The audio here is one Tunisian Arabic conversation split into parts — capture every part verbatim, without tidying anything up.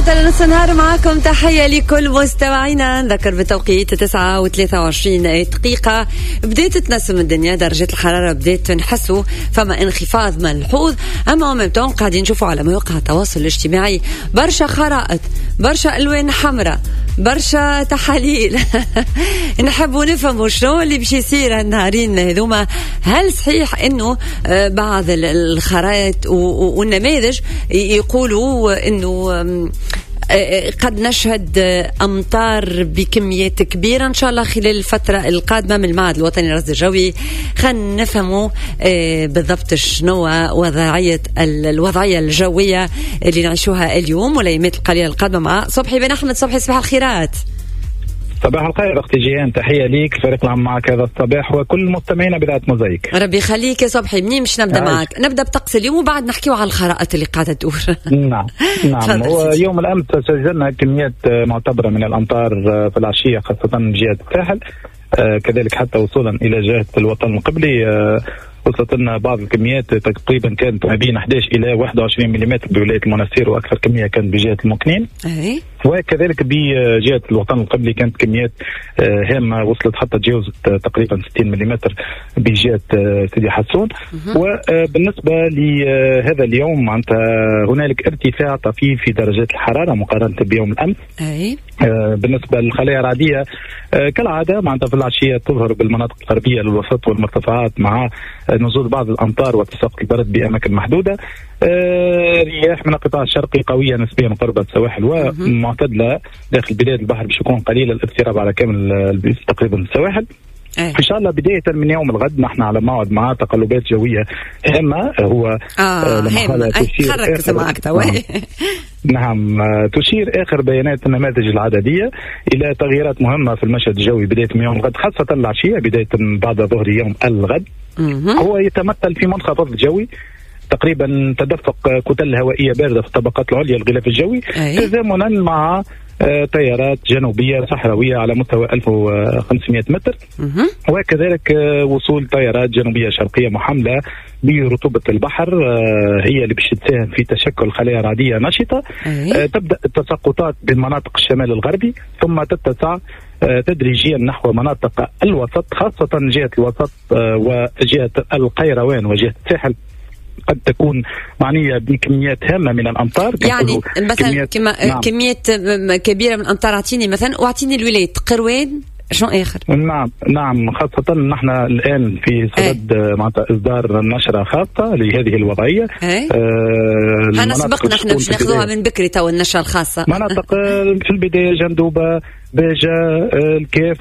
حتى لنص النهار معاكم. تحية لكل مستمعينا. نذكر بالتوقيت تسعة وثلاثة وعشرين دقيقة. بدأت تنسم الدنيا، درجة الحرارة بدأت نحسوا فما انخفاض ملحوظ، أما en même temps قاعدين نشوفوا على مواقع التواصل الاجتماعي برشا خرائط، برشا ألوان حمراء، برشا تحاليل. نحبوا نفهموا شنو اللي باش يصير النهارين هذوما. هل صحيح انه بعض الخرائط والنماذج يقولوا انه قد نشهد امطار بكميات كبيرة ان شاء الله خلال الفترة القادمه؟ من المعهد الوطني للرصد الجوي خلينا نفهموا بالضبط شنو وضعية الوضعية الجوية اللي نعيشوها اليوم والايامات القليلة القادمة مع صبحي بن احمد. صبحي، صباح الخيرات. صباح الخير اختي جيهان، تحية ليك، فريق العمل معك هذا الصباح وكل مستمعينا باذاعة موزايك. ربي يخليك يا صبحي. منين باش نبدا معك؟ نبدا بطقس اليوم وبعد نحكيو على الخرائط اللي قاعدة تدور. نعم نعم هو يوم الامس سجلنا كميات معتبره من الامطار في العشية، خاصة من جهة الساحل، كذلك حتى وصولا الى جهة الوطن القبلي. وصلت لنا بعض الكميات، تقريبا كانت ما بين أحد عشر الى واحد وعشرين ملم بولاية المنستير، واكثر كمية كانت بجهة المكنين. أي. وكذلك بجهة الوطن القبلي كانت كميات هامة وصلت حتى تجاوزت تقريبا ستين ملم بجهة سيدي حسون. وبالنسبة لهذا اليوم معناتها هنالك ارتفاع طفيف في درجات الحرارة مقارنة بيوم الامس. أي. بالنسبة للخلايا الرعديه كالعادة معناتها في العشية تظهر بالمناطق الغربية للوسط والمرتفعات مع نزول بعض الامطار وتساقط البرد باماكن محدودة. رياح من القطاع الشرقي قوية نسبيا قرب السواحل ومعتدله داخل بلاد البحر باش يكون قليل الاضطراب على كامل تقريبا السواحل. أيه. ان شاء الله بداية من يوم الغد نحن على موعد مع تقلبات جوية هامه. هو اه هامة خرك معك توا. نعم، تشير اخر بيانات النماذج العدديه الى تغييرات مهمة في المشهد الجوي بداية من يوم الغد، خاصة العشية بداية بعد ظهر يوم الغد. هو يتمثل في منخفض جوي، تقريبا تدفق كتل هوائية باردة في الطبقات العليا للغلاف الجوي، تزامنا مع تيارات جنوبيه صحراويه على مستوى ألف وخمسمائة متر، وكذلك وصول تيارات جنوبيه شرقية محمله برطوبه البحر هي اللي باش تساهم في تشكل خلايا رعديه نشطة. أي. تبدا التساقطات بمناطق الشمال الغربي ثم تتسع تدريجيا نحو مناطق الوسط، خاصة جهة الوسط وجهه القيروان وجهه الساحل قد تكون معنية بكميات هامة من الأمطار. يعني مثلا كميات، نعم. كميات كبيرة من الأمطار. أعطيني مثلا وأعطيني الولايات قروان شنو آخر؟ نعم نعم خاصة نحن الآن في صدد معناتها إصدار نشرة خاصة لهذه الوضعية. أه هنا سبقنا احنا باش ناخذوها من بكري تو النشرة الخاصة. مناطق في البداية جندوبة، باجة، الكاف،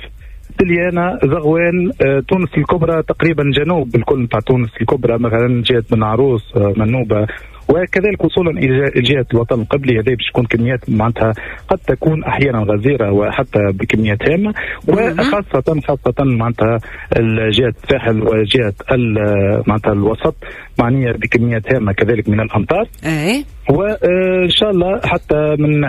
سليانة، زغوان، تونس الكبرى تقريبا جنوب الكل نتاع تونس الكبرى مثلا جهة بن عروس، منوبة، وكذلك وصولا الى جهة الوطن القبلي. هذه باش تكون كميات معناتها قد تكون احيانا غزيرة وحتى بكميات هامة، وخاصة خاصة معناتها جهة الساحل وجهه معناتها الوسط معنية بكميات هامة كذلك من الامطار. اي وان شاء الله حتى من